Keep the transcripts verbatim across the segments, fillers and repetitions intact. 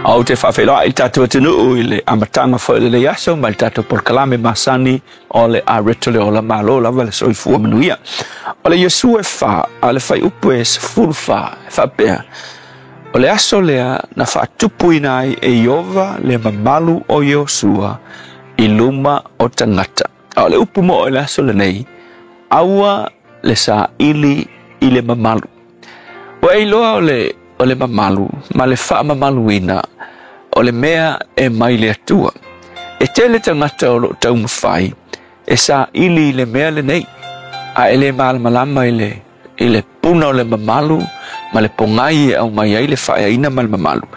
Ou te faafeiloai i le tatou atunuu i le amataga foi o lenei aso ma le tatou polokalame masani o le Areto le Ola. Malo lava le soifua manuia. O le Iosua e fa a le fuaiupu e sefulu fa e faapea, o le aso lea na faatupuina ai e Ieova le mamalu o Iosua i luma o tagata. A o le upu mo o le aso lenei, aua le saili i le mamalu. Ua e iloa o le o le mamalu ma le faamamaluina o le mea e mai le Atua. E tele tagata o loo taumafai e saili i le mea lenei, a e le malamalama i le i le puna o le mamalu ma le pogai e aumai ai le faaeaina ma le mamalu.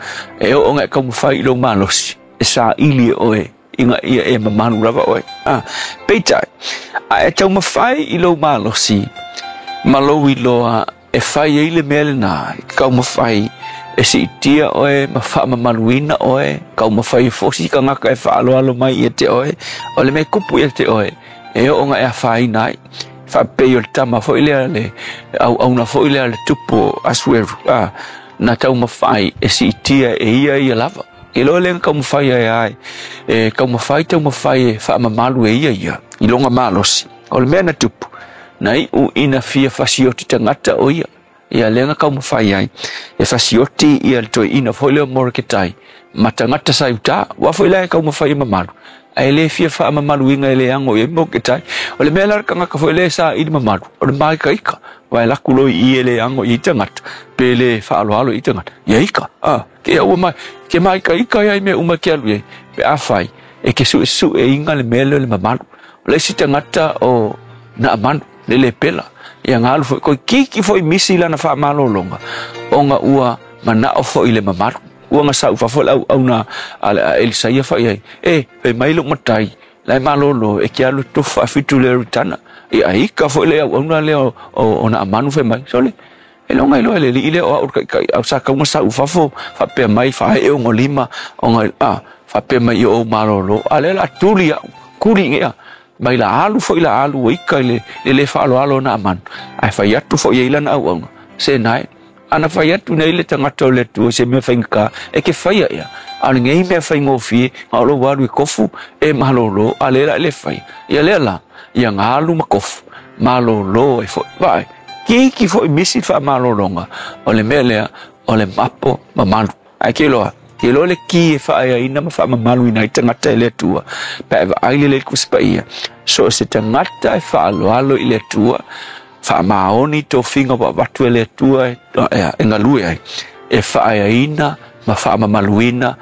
E oo ina e taumafai i lou malosi e saili e oe ina ia e mamalu lava oe. Ah, peitai, a e taumafai i lou malosi ma lou iloa e fai ai le mea lenā, e taumafai e siitia oe ma faamamaluina oe, taumafai e fosi tagata e faaaloalo mai ia te oe, o le mea tupu ia te oe, e oo ina e afaina ai. Faapei o le tama foi lea le auauna foi lea le tupu o Asueru, ah, na taumafai e siitia e ia ia lava. E loa lea na taumafai ai ai, e taumafai taumafai e faamamalu e ia ia i lona malosi. O le mea na tupu, na iu ina fia fasioti tagata o ia. Ia lea na taumafai ai e fasioti ia le toeaina foi lea o Moreketai ma tagata sa i uta. Ua foi la e taumafai e mamalu, ae le fia faamamaluina e le ago i ai Moreketai. O le mea la le tagata foi lea e saili mamalu, o le māikaika, aua e alu atu loa i i e le ago i ai tagata, pe le faaaloalo i ai tagata. Ia ika, a, ke ia ua mai, ke māikaika ai i mea uma e ke alu i ai, pe afai e ke suesueina le mea lea o le mamalu. O le isi tagata o Naamanu, le lepela, ia na alu foi, toeitiiti foi misi lana faamalologa, ona ua manao foi i le mamalu. Ua gasau i fafo le auauna a le a Elisaia fai ai, E, fai mai lou matai, la e malolo, e ke alu e tofu faafitu le ritana. Ia ika foi le auauna lea o, o, o Naamanu fai mai, sole, e loga iloa e le alii lea o au le taitai, a o sa tau gasau i fafo, faapea mai, faaee ona lima, ona, a, faapea mai i o ou malolo, a lea o le a tuli au, tuli ia. Mai la alu foi la alu ua ika i le, le le faaaloalo o Naamanu, ae fai atu foi i ai lana auauna, Se nae, ana fai atu nei le tagata o le Atua i se mea faigata, e ke faia ea, a o lenei mea faigofie, na o lou alu i kofu, e malolo, a lea la e le faia. Ia lea la, ia na alu ma kofu, malolo ai foi. Vaai, kiki foi misi le faamalologa, o le mea lea, o le mapo mamalu. Ae ke iloa, ke iloa le ki e faaeaina ma faamamaluina ai tagata e le Atua, pe a e vaai lelei i le Tusi Paia, so o se tagata e faaaloalo i le Atua, faamaoni tofiga ua avatu e le Atua e, e galue ai, e faaeaina ma faamamaluina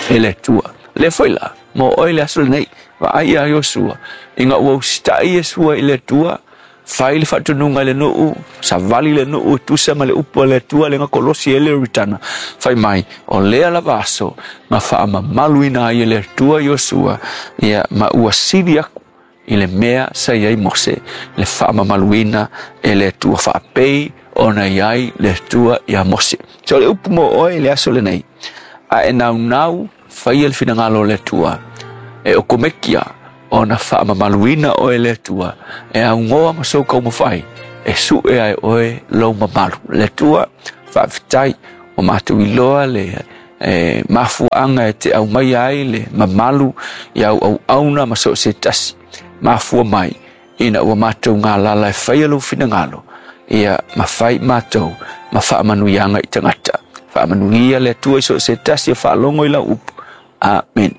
e le Atua. Lea foi la, mo oe le aso lenei, vaai ia Iosua, ina ua usitai Iesua i le Atua, fai le faatonuga i le nuu, savali le nuu e tusa ma le upu a le Atua lea na kolosi ai le Ioritana, fai mai, o lea lava aso na faamamaluina ai e le Atua Iosua, ia, ma ua sili aku i le mea sa i ai Mose, le faamamaluina e le Atua faapei ona i ai le Atua ia Mose. So o le upu mo oe i le aso lenei, a e naunau faia le finagalo o le Atua, e okomekia ona faamamaluina oe e le Atua, e augoa ma sou taumafai, e sue ai oe lou mamalu. Le Atua, faafetai, ua matou iloa le e mafuaaga e te aumaia ai le mamalu i au auauna ma so o se tasi. Mafua mai ina ua matou galala e faia lou finagalo, ia ma fai matou ma faamanuiaga i tagata. Faamanuia le Atua i so o se tasi e faalogo i lau upu. Amene.